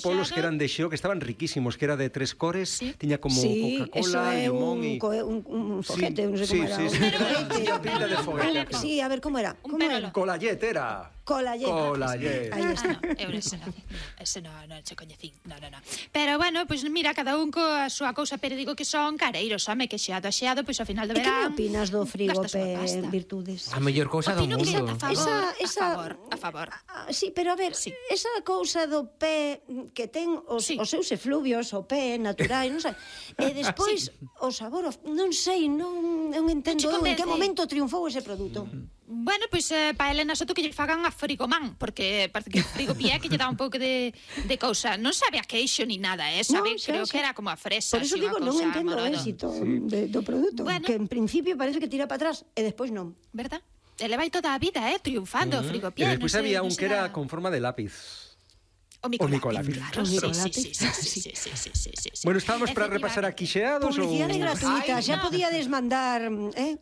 polos que eran de xeo, que estaban riquísimos, que era de 3 cores, tiña como Coca-Cola, limón e... un foguete, non sei como era. Tiña pinta de foguete. Sí, a ver, como era? Colallet era. Colallet. Aí está. Ese non che coñecín. No. Pero bueno, pois mira, cada un coa súa cousa, pero digo que son careiros, home, que xeado, pois ao final do verán... E que me verán... opinas do frigope Virtudes? A mellor cousa do mundo. A favor. Sí, pero a ver, esa cousa do pé que ten os seus efluvios, o pé natural, non sei, e despois o sabor, non sei, non entendo en que momento triunfou ese produto. Bueno, pois pa Elena Soto que lle fagan a frigomán, porque parece que o frigopié que lle dá un pouco de cousa. Non sabe a queixo ni nada, sabe? Creo que era como a fresa. Por eso digo, non entendo o éxito do produto, que en principio parece que tira para atrás e despois non. Verdad? Ele vai toda a vida, triunfando o frigopié. E despois había un que era con forma de lápiz. O Micolápiz, claro. Sí. Bueno, estábamos para repasar aquí xeados ou... Publicidade gratuita, xa podíades mandar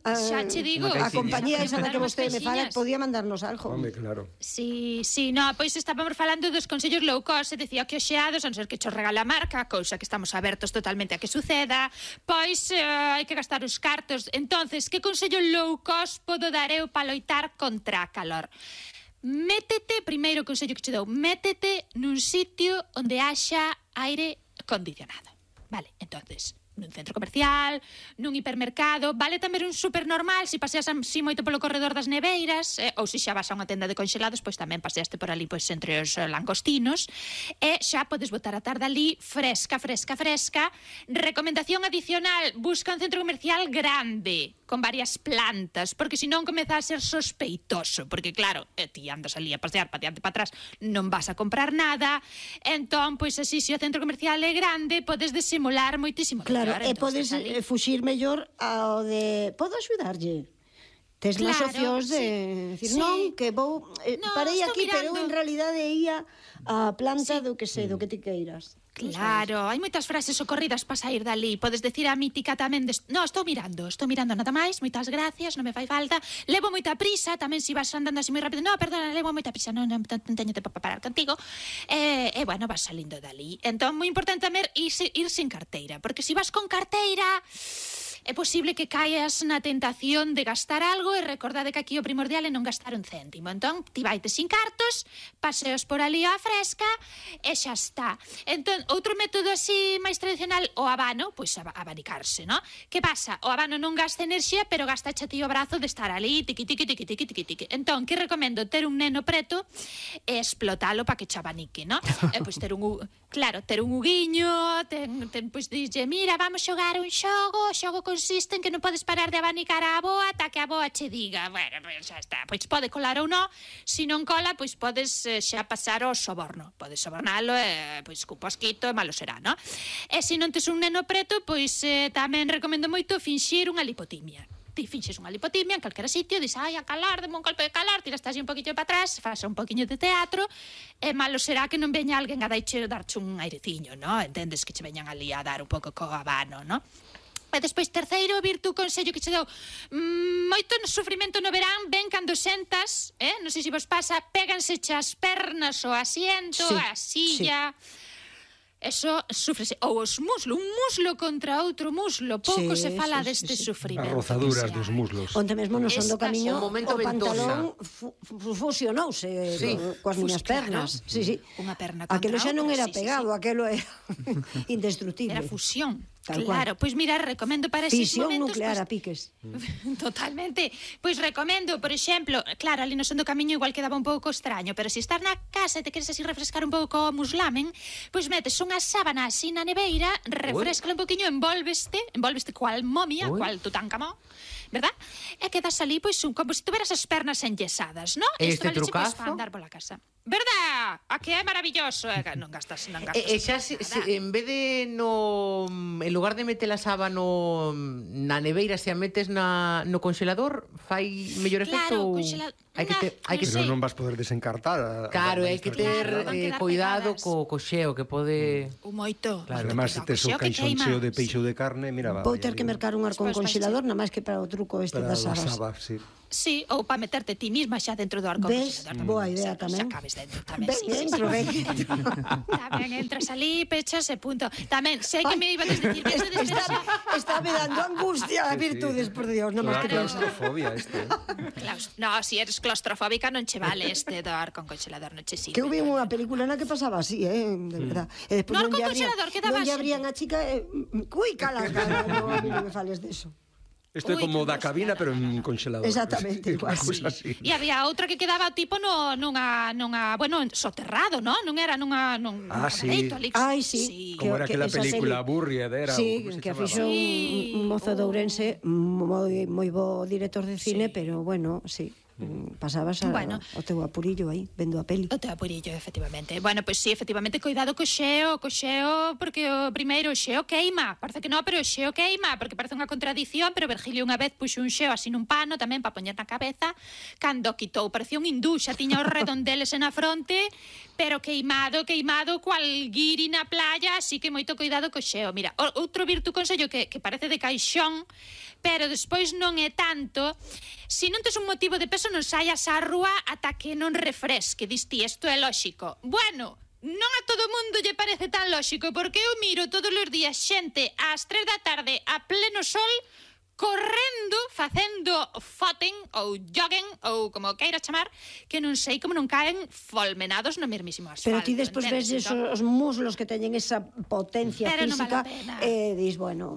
xa che digo, a compañía esa da que vostede me fala, podía mandarnos algo. Home, claro. Sí, no, pois estábamos falando dos consellos low cost, e decía que os xeados, a non ser que cho regala a marca, cousa que estamos abertos totalmente a que suceda, pois hai que gastar os cartos. Entonces, que consello low cost podo dar eu para loitar contra a calor? Métete, primeiro consello que che dou, métete nun sitio onde haxa aire condicionado. Vale, entonces, nun centro comercial, nun hipermercado, vale tamén un super normal, se paseas así moito polo corredor das neveiras, ou se xa vas a unha tenda de conxelados, pois tamén paseaste por ali pois entre os langostinos, e xa podes botar a tarde ali fresca. Recomendación adicional, busca un centro comercial grande, con varias plantas, porque senón comeza a ser sospeitoso, porque claro, ti andas ali a pasear para diante para atrás, non vas a comprar nada, entón, pois así, se o centro comercial é grande, podes disimular moitísimo. Claro, e podes fuxir mellor ao de... Podo axudarlle? Tes máis opcións de... Non, que vou... Parei aquí, pero en realidade ia a planta do que sei, do que ti queiras. Claro, hai moitas frases socorridas para sair dali. Podes decir a mítica tamén no, estou mirando nada máis, moitas gracias, non me fai falta. Levo moita prisa, tamén se vas andando así moi rápido. No, perdona, levo moita prisa, non teño tempo para parar contigo. E bueno, vas salindo dali. Entón, moi importante tamén ir sin carteira, porque se vas con carteira é posible que caes na tentación de gastar algo, e recordade que aquí o primordial é non gastar un céntimo. Entón, ti vaite sin cartos, paseos por ali á fresca e xa está. Entón, outro método así máis tradicional, o abano, pois abanicarse, non? Que pasa? O abano non gasta enerxía, pero gasta xa ti o brazo de estar ali, tiqui. Entón, que recomendo? Ter un neno preto e explotalo para que che abanique, non? E pois ter un uguiño, pois dixlle, mira, vamos xogar un xogo, o xogo consiste en que non podes parar de abanicar a avoa ata que a avoa che diga, bueno, pois xa está, pois pode colar ou non, se non cola, pois podes xa pasar ao soborno, podes sobornalo e pois cun posquito e malo será, non? E se non tes un neno preto, pois tamén recomendo moito finxir unha lipotimia. Ti finxes unha lipotimia en calquera sitio, dis, ai, a calor, deme un golpe de calor, tiras así un poquinho para atrás, faz un poquinho de teatro, e malo será que non veña alguén a darche un aireciño, non? Entendes que che veñan ali a dar un pouco co habano, non? E despois, terceiro virtu consello que che dou, moito sufrimento no verán ven cando sentas, non sei se vos pasa, péganse as pernas o asiento, a silla... Eso sufrese, ou os muslos, un muslo contra outro muslo, pouco se fala deste sufrimento. As rozaduras dos muslos. Onde mesmo no son do camiño, o pantalón fusionouse coas miñas pernas. Unha perna contra outra. Aquelo xa non era pegado, aquelo era indestructible. Era fusión. Claro, pois mira, recomendo para eses momentos... Fisión nuclear a piques. Totalmente. Pois recomendo, por exemplo, claro, ali no son do camiño igual quedaba un pouco extraño, pero se estar na casa e te queres así refrescar un pouco o muslamen, pois metes unha sábana así na neveira, refrescala un poquinho, envolveste cual momia, cual Tutankamón, verdad? E quedas ali, pois, como se tuveras as pernas enyesadas, non? Este trucazo? Para andar pola casa. Verdad? A que é maravilloso. Non gastas nada. E xa, en vez de en lugar de meter a sábana na neveira, se a metes no congelador, fai mellor efecto? Claro, Pero non vas poder desencartar. Claro, hai que ter cuidado co xeo, que pode... Moito. Además, se tes o caixón cheo de peixe ou de carne, mira, vou ter que mercar un arcón congelador, nada máis que para o truco este Para das a sabas. saba, sí. Sí, ou para meterte ti misma xa dentro do Ves? arconxelador. Boa idea tamén. Xa cabes dentro tamén, Ben, sí, dentro, sí. ben. Tamén entras ali, pechas e punto. Tamén, sei que me ibas a decir que eso de Está me dando angustia a virtudes, por Dios, non máis que Claro. pensa. Claustrofobia este. No, si eres claustrofóbica non che vale este do arconxelador, non che sirve. Que houve unha película na que pasaba así, de verdad. E despois No non lle abrían, arconxelador, que daba non lle xente. abrían a chica, cui calas cara, no, a mí non me fales deso. Isto é Ui, como que da cabina, pero en congelador. Exactamente, igual, Unha cousa así. E había outra que quedaba tipo nunha bueno, soterrado, non? Non era nun Sí. camareito ali. Ai, sí. Como era aquela esa película serie. Burried, era... Sí, como se que a chamaba? fixo un mozo de Ourense, moi bo director de cine, pero bueno, sí. Pasabas Bueno. o teu apurillo aí, vendo a peli. O teu apurillo, efectivamente. Bueno, pois sí, efectivamente, cuidado co xeo, porque o primeiro o xeo queima. Parece que non, pero o xeo queima, porque parece unha contradición, pero Virgilio unha vez puxo un xeo así nun pano tamén para poñer na cabeza, cando quitou, parecía un hindú, xa tiña os redondeles na fronte, pero queimado, cual guiri na playa, así que moito cuidado co xeo. Mira, outro virtu consello que parece de caixón, pero despois non é tanto. Se non tes un motivo de peso, non saias á rúa ata que non refresque. Diste, isto é lóxico. Bueno, non a todo mundo lle parece tan lóxico, porque eu miro todos os días xente ás 3 da tarde a pleno sol correndo, facendo footing ou jogging ou como queira chamar, que non sei como non caen folmenados no mesmísimo asfalto. Pero ti despois ves os muslos que teñen esa potencia Pero non física vale a pena. e dis, bueno,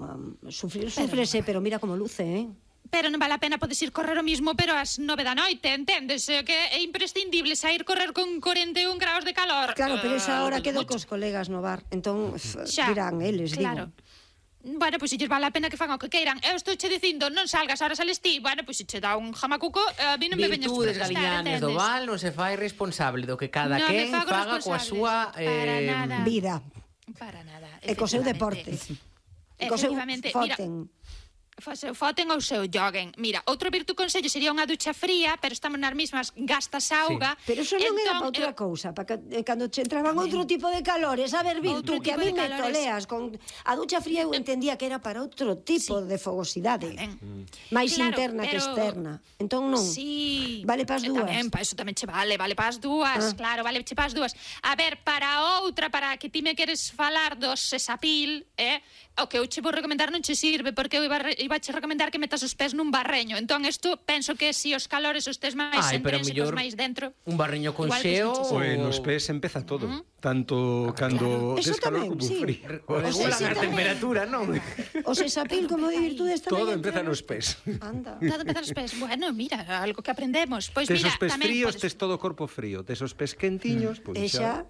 sufrese, pero mira como luce, Pero non vale a pena, podes ir correr o mismo, pero ás 9 da noite, entendes? Que é imprescindible sair correr con 41 graus de calor. Claro, pero esa hora quedo mucho. cos colegas no bar, entón Xa, dirán eles, claro. digo. Bueno, pois se lles vale a pena que fan o que queiran. Eu estou che dicindo, non salgas, ahora sales ti. Bueno, pois se che dá un jamacuco, a mí non me veñas Virtudes protestar, galiñanes do entendes? Val non se fai responsable do que cada Non me quen fago faga coa súa responsable, para nada. Vida, Para nada. e co seu deporte. E co seu Efectivamente. foten. Mira, seu foten ou seu jogging. Mira, outro virtu consello sería unha ducha fría, pero estamos nas mismas, gastas auga. Pero eso non era Entón, para outra cousa, para cando che entraban outro tipo de calores, a ver, Virtu, Outro que a mí tipo de me calores. toleas con a ducha fría eu entendía que era para outro tipo de fogosidade, máis Claro, interna que pero- externa. Entón non. Sí. Vale para as dúas. Tamén, para eso tamén che vale para as dúas, claro, vale che para as dúas. A ver, para outra, para que ti me queres falar do sesapil, o que eu che vou recomendar non che sirve, porque eu iba che recomendar que metas os pés nun barreño. Entón, isto, penso que si os calores os tes máis pero entrénsecos, mellor máis dentro... un barriño con igual, xeo pues, Pois nos pés empeza todo. Tanto cando Eso tes calor tamén, como sí. frío. regulan sí, a tamén. temperatura, non? O sesapil como de Virtudes tamén. Todo entra empeza nos pés. Anda. Todo empezar os pés. Bueno, mira, algo que aprendemos. Pois Tes mira, os pés tamén fríos, podes... tes todo o corpo frío. Tes os pés quentiños, pois E xa,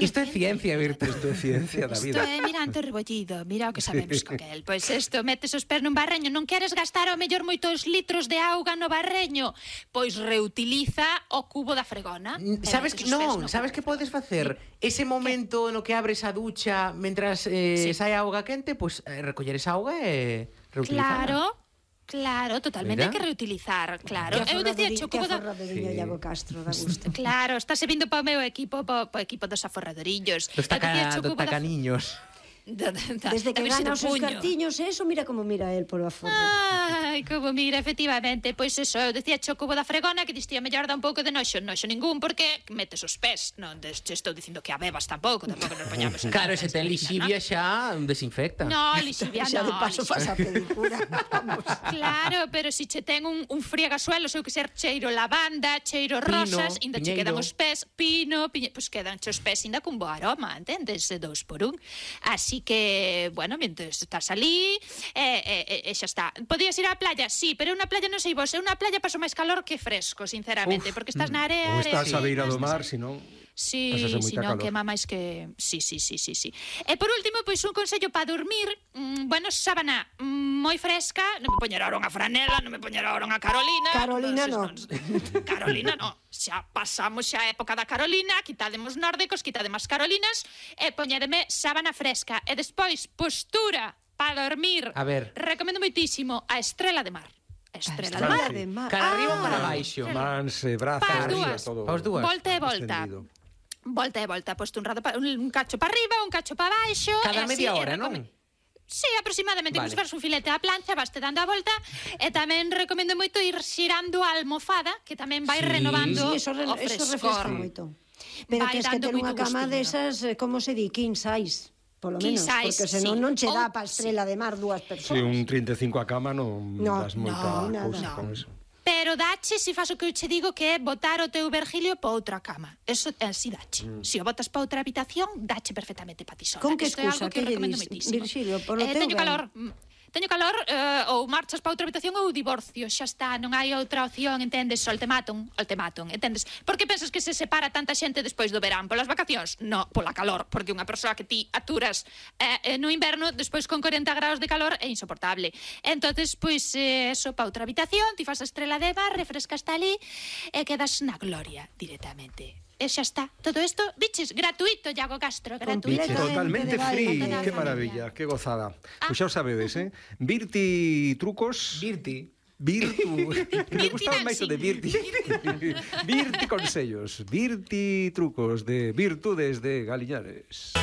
Isto é ciencia, Virtu. Isto é ciencia da Isto vida. é mirante o rebollido, mira o que sabemos con el. Pois isto, metes os pés nun barreño, non queres gastar ao mellor moitos litros de auga no barreño, pois reutiliza o cubo da fregona. Sabes que non, sabes que podes facer? Ese momento no que abres a ducha mentras sai a auga quente, pois recoller esa auga e reutilizarla. Claro, totalmente Mira. hai que reutilizar, claro. que Eu dicía cho cubo da... aforradoriño Iago Castro, da gusto. Claro, estáse vindo para o meu equipo, para o equipo dos aforradorillos. Dos Eu dicía cho cubo da- tacaniños. Desde que a ver se gana do os seus puño. cartiños, eso, mira como mira el polo aforro. Ai, como mira, efectivamente. Pois eso, eu dicía cho cubo da fregona que distía mellor dá un pouco de noxo ningún, porque metes os pés. Non te estou dicindo que a bebas tampouco nos poñamos. Claro, se ten lixivia xa desinfecta. No, lixivia Xa de no. paso faz a pedicura. Claro, pero si che ten un friegasuelo, eu que ser cheiro lavanda, cheiro rosas, inda che piñeiro. quedan os pés, pino, pois quedan che os pés inda cun bo aroma, entendes? 2 por 1. Así que, bueno, mientras estás ali, xa está. Podías ir á playa? Sí, pero unha playa non sei vos, é unha playa paso máis calor que fresco, sinceramente, porque estás na area... Ou estás a beira do estás- mar, senón... Sí, Pasas a moita si non calor. quema máis que... Sí. E por último, pois un consello para dormir, bueno, sábana moi fresca, non me poñer ahora unha franela, non me poñer ahora unha Carolina. Carolina no. Carolina no. Xa pasamos xa a época da Carolina, quitademos nórdicos, quitademos Carolinas, e poñedeme sábana fresca. E despois, postura para dormir. A ver. Recomendo moitísimo a estrela de mar. Estrela de Estrela mar. de mar. Cara arriba ou cara Ah, baixo? Mans, brazos, Pas arriba, dúas. todo. Pas dúas. Volta e volta. Extendido. Volta e volta, posto un cacho para arriba, un cacho para baixo. Cada e así, media e hora, non? Sí, aproximadamente, Vale. como se faz un filete á plancha, vaste dando a volta, e tamén recomendo moito ir xirando a almofada, que tamén vai renovando Sí, eso o refresca frescor. moito. Pero Vai tens que dando ter unha moito cama gustiño. desas, como se di, king size, polo King menos, size, porque senón sí. non che dá Ou- pa estrela de mar dúas persoas. Si un 35 a cama non No, das moita no, cousa nada. con eso. Pero dache, se faz o que eu che digo, que é botar o teu vergilio pa outra cama. Eso así dache. Se o botas pa outra habitación, dache perfectamente pa ti sola. Con que Isto é algo excusa? que Que lle recomendo dis, moitísimo. Virxilio, polo teu teño ben. calor. Teño calor, ou marchas pa outra habitación ou divorcio, xa está, non hai outra opción, entendes? O ultimátum, entendes? Por que pensas que se separa tanta xente despois do verán? Polas vacacións? No, pola calor, porque unha persoa que ti aturas no inverno, despois con 40 graus de calor, é insoportable. Entonces, pois, eso, pa outra habitación, ti fas a estrela de mar, refrescas ali, e quedas na gloria directamente. E xa está. Todo isto, biches, gratuito, Iago Castro, gratuito. Biche, totalmente de baile. free, Totalmente. que maravilla, que gozada. Pois xa o sabedes, Virti trucos... Virti. Virtu. Me Virti gustaba máis o de Virti. Virti consellos. Virti trucos de virtudes de Galiñares.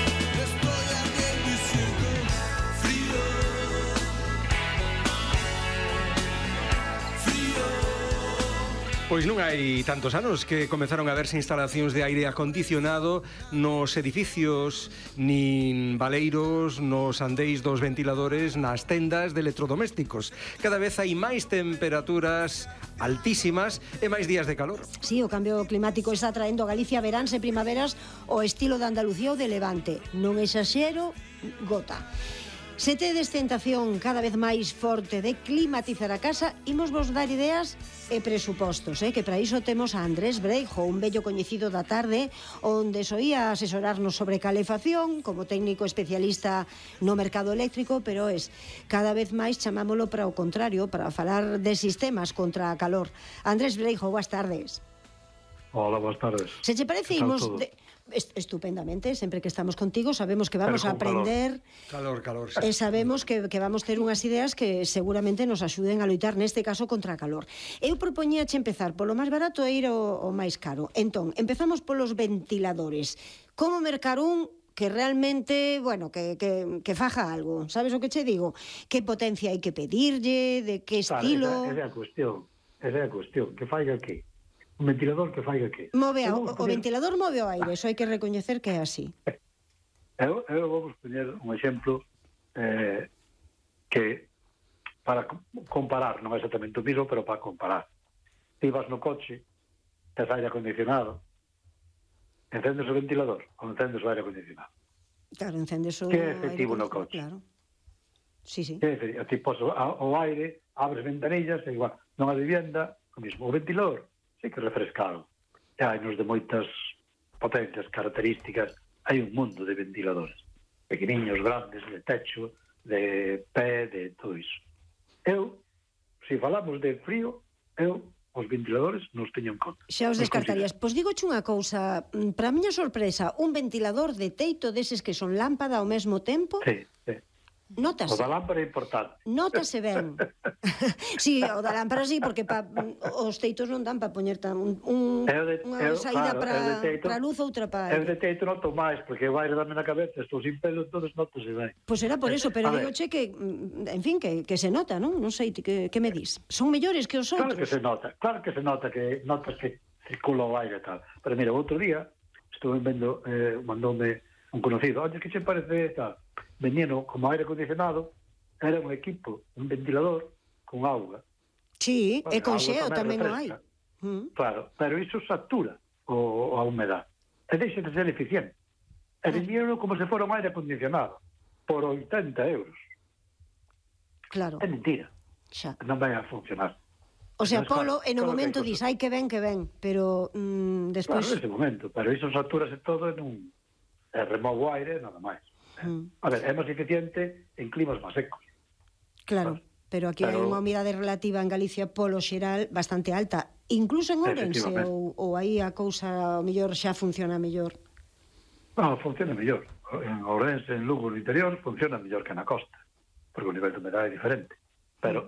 Pois non hai tantos anos que comezaron a verse instalacións de aire acondicionado nos edificios, nin baleiros, nos andeis dos ventiladores, nas tendas de electrodomésticos. Cada vez hai máis temperaturas altísimas e máis días de calor. Sí, o cambio climático está traendo a Galicia veráns e primaveras o estilo de Andalucía ou de Levante. Non exaxero, gota. Se tedes tentación cada vez máis forte de climatizar a casa, imos vos dar ideas e presupostos, que para iso temos a Andrés Breijo, un vello coñecido da tarde, onde soía asesorarnos sobre calefacción, como técnico especialista no mercado eléctrico, pero cada vez máis chamámolo para o contrario, para falar de sistemas contra a calor. Andrés Breijo, boas tardes. Hola, boas tardes. Se che parece, Que tal imos... todo? Estupendamente, sempre que estamos contigo sabemos que vamos a aprender Calor. e sabemos que vamos ter unhas ideas que seguramente nos axuden a loitar neste caso contra a calor. Eu propoñíache empezar polo máis barato e ir ao máis caro. Entón, empezamos polos ventiladores. Como mercar un que realmente, bueno, que faja algo? Sabes o que che digo? Que potencia hai que pedirlle, de que estilo... Esa é a cuestión. Que faiga que? Un ventilador que faiga que? O ventilador move o aire, eso hai que recoñecer que é así. Eu vou poñer un exemplo que para comparar, non é exactamente o mismo, pero para comparar. Ti vas no coche, tes aire acondicionado, encendes o ventilador ou encendes o aire acondicionado? Claro, encendes o Que é efectivo aire no coche. Claro. Sí. Que é efectivo, ti pos o aire, abres ventanillas, e igual, non a vivienda, o mismo. O ventilador, sí que é refrescado. E hai nos de moitas potencias, características, hai un mundo de ventiladores. Pequeniños, grandes, de techo, de pé, de todo iso. Eu, se falamos de frío, os ventiladores nos teño en conta. Xa os descartarías. Pois digoche unha cousa, para a miña sorpresa, un ventilador de teito deses que son lámpada ao mesmo tempo, Sí. O notase. da lámpara é importante. Notase ben. Sí, o da lámpara sí, porque os teitos non dan para poñer unha saída para luz, outra para Eu de aire. teito noto máis, porque o aire dame na cabeza, estou sin pelo, entonces notose ben. Pois era por eso, pero A ver. digoche que, en fin, que se nota, non? Non sei, que me dis? Son mellores que os Claro que outros? se nota, que notas que circula o aire e tal. Pero mira, outro día estuve vendo, mandoume un conocido, oye, que che parece tal? Venían como aire acondicionado, era un equipo, un ventilador con auga. Sí, e con Auga xeo tamén o hai. refresca. Claro, pero iso satura a humedad. E deixa de ser eficiente. E vendieron como se fora un aire acondicionado por 80 euros. Claro, É mentira. xa. Non vai a funcionar. O sea, Entonces, Polo, en o claro que momento hai dis, cosas. ai, que ven, pero Claro, despois... nese momento. Pero iso saturase todo en un... removo aire, nada máis. A ver, é máis eficiente en climas máis secos. Claro, pero aquí hai Pero- unha humidade relativa en Galicia polo xeral bastante alta. Incluso en Ourense, Efectivamente. ou aí a cousa mellor xa funciona mellor. No, funciona mellor. En Ourense, en Lugo, no interior, funciona mellor que na costa, porque o nivel de humedade é diferente. Pero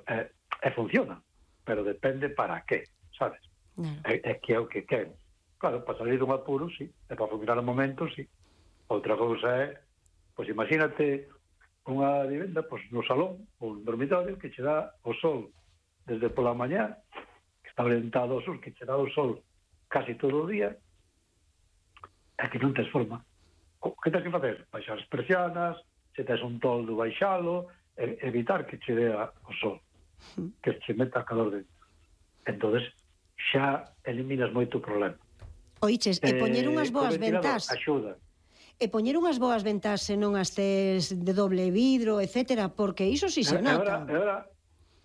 funciona, pero depende para qué, sabes? Claro. É que é o que queren. Claro, para salir dun apuro, sí. E para funcionar no momento, sí. Outra cousa é, pois imagínate unha vivenda pois, no salón ou no dormitorio que che dá o sol desde pola mañá, que está orientado ao sol, que che dá o sol casi todo o día, e que non tes forma. O que tens que facer? Baixar as persianas, se tes un toldo, baixalo, evitar que che dea o sol, que che meta calor dentro. Entonces, xa eliminas moito problema. Oiches, e poñer unhas boas ventas. Axuda. E poñer unhas boas ventas se non as tes de doble vidro, etcétera, porque iso si se nota.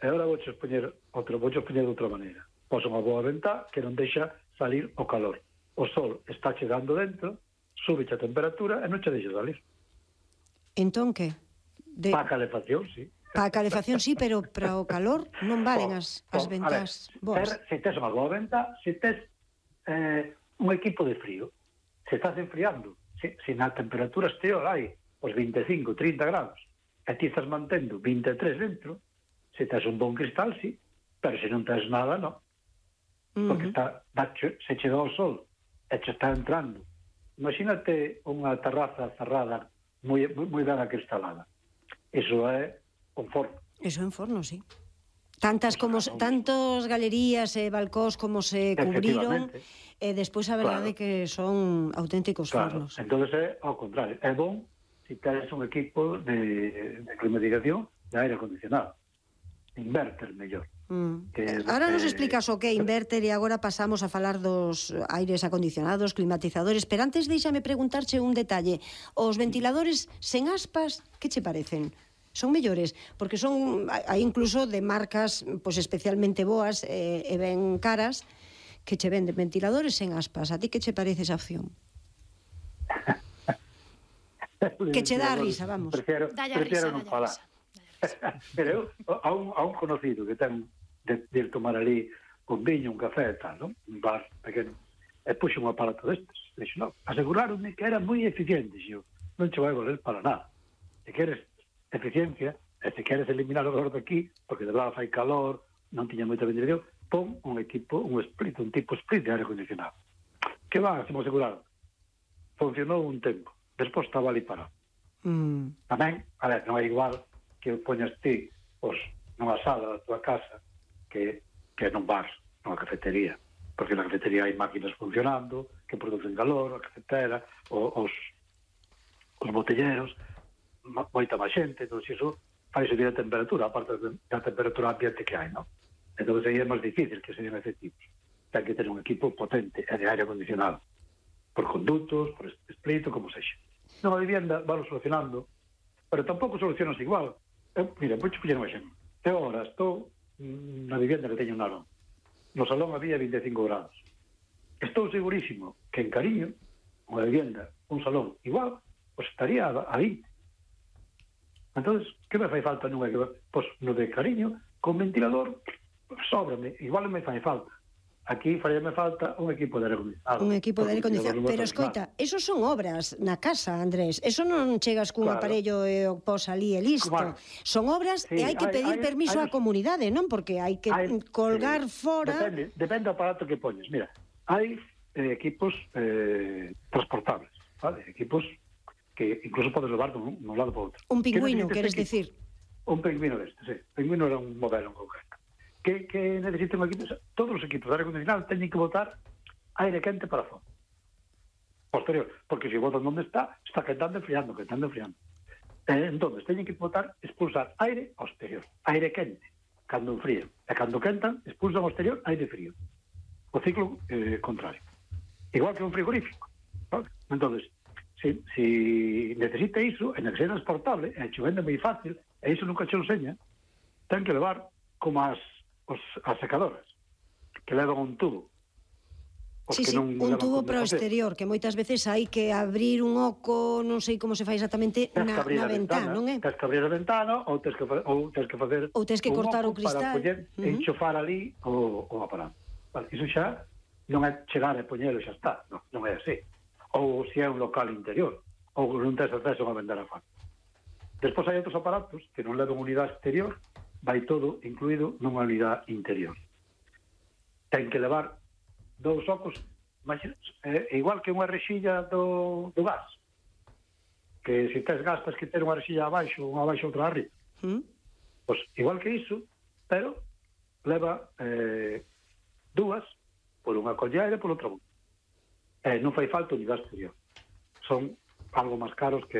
E agora vouches poñer de outra maneira. Pos unha boa ventá que non deixa salir o calor. O sol está chegando dentro, sube a temperatura e non che deixa salir. Entón que? Para a calefacción, sí. Para a calefacción, sí, pero para o calor non valen as ventás boas. Se tes unha boa ventá, se tes un equipo de frío, se estás enfriando, se na temperatura exterior hai os 25, 30 grados, e ti estás mantendo 23 dentro, se tes un bon cristal, sí, pero se non tes nada, non. Porque se che dá o sol e che está entrando. Imagínate unha terraza cerrada moi ben acristalada. Iso é un forno. Eso é un forno, sí. Tantos galerías e balcós como se cubriron, e despois a verdade que son auténticos fornos. Entón é ao contrario. É bon se tens un equipo de climatización de aire acondicionado. Inverter mellor. Ahora nos explicas o que é inverter e agora pasamos a falar dos aires acondicionados, climatizadores, pero antes deixame preguntarche un detalle. Os ventiladores sen aspas, que che parecen? Son mellores? Porque hai incluso de marcas pois especialmente boas e ben caras que che venden ventiladores sen aspas. A ti que che parece esa opción? Que che dá a risa, vamos. Prefiero non falar. Pero a un conocido que ten de ir tomar ali un viño, un café e tal, non? Un bar pequeno. E puxo un aparato destes. Dixo, non, aseguraronme que era moi eficiente. Dixo, non che vai valer para nada. Se queres eficiencia, e se queres eliminar o calor de aquí, porque de verdade fai calor, non tiña moita ventilación, pon un equipo, un tipo split de aire acondicionado. Que va, se me aseguraron. Funcionou un tempo. Despois estaba ali parado. Tamén, a ver, non é igual que poñas ti nunha sala da tua casa que nun bar, nunha cafetería, porque na cafetería hai máquinas funcionando que producen calor, a cafetera, os botelleros, moita máis xente, entón iso fai subir a temperatura, aparte da temperatura ambiente que hai, non? Entón aí é máis difícil que sean efectivos. Ten que ter un equipo potente e de aire acondicionado, por conductos, por split, como sexa. Nunha vivienda valo solucionando, pero tampouco solucionas igual. Mira, vou poñer un exemplo. Eu agora estou na vivienda que teño un salón. No salón había 25 grados. Estou segurísimo que en Cariño, unha vivienda, un salón igual, pues estaría a 20. Entonces, que me fai falta nunha? Pois no de Cariño, con ventilador, sóbrame, igual me fai falta. Aquí faríame falta un equipo de aire acondicionado. Un equipo de aire acondicionado. Pero, escoita, eso son obras na casa, Andrés. Eso non chegas cun aparello e o pos ali e listo. Son obras e hai que pedir permiso á comunidade, non? Porque hai que colgar fora... Depende do aparato que poñes. Mira, hai equipos transportables, vale? Equipos que incluso podes levar dun lado para outro. Un pingüino, queres decir? Un pingüino deste, sí. O pingüino era un modelo en concreto. Que necesita un equipo, todos os equipos de aire acondicionado teñen que botar aire quente para fora posterior, porque se botan onde está quentando e enfriando. Entonces teñen que botar, expulsar aire ao exterior, aire quente cando enfrían, e cando quentan expulsan ao exterior aire frío, o ciclo contrario, igual que un frigorífico, ¿vale? Entonces si necesita iso, en el que é transportable e che vende moi fácil, e iso nunca che lo enseña, ten que levar como as secadoras, que levan un tubo. Sí, un tubo para o exterior, que moitas veces hai que abrir un oco, non sei como se fai exactamente na ventana, non é? Tens que abrir a ventana ou tens que facer ou tens que cortar o cristal para enchufar ali o aparato. Vale, iso xa non é chegar e poñelo e xa está, non é así. Ou se é un local interior, ou non tens acceso a vender a fácil. Despois hai outros aparatos que non levan unidade exterior, vai todo incluído nunha unidade interior. Ten que levar 2 ocos, igual que unha rexilla do gas. que se tes gastas que ter unha rexilla abaixo, unha abaixo, outra arriba. Pois igual que iso, pero leva dúas, por unha colleira e por outra boca. Non fai falta unidade exterior. Son algo máis caros que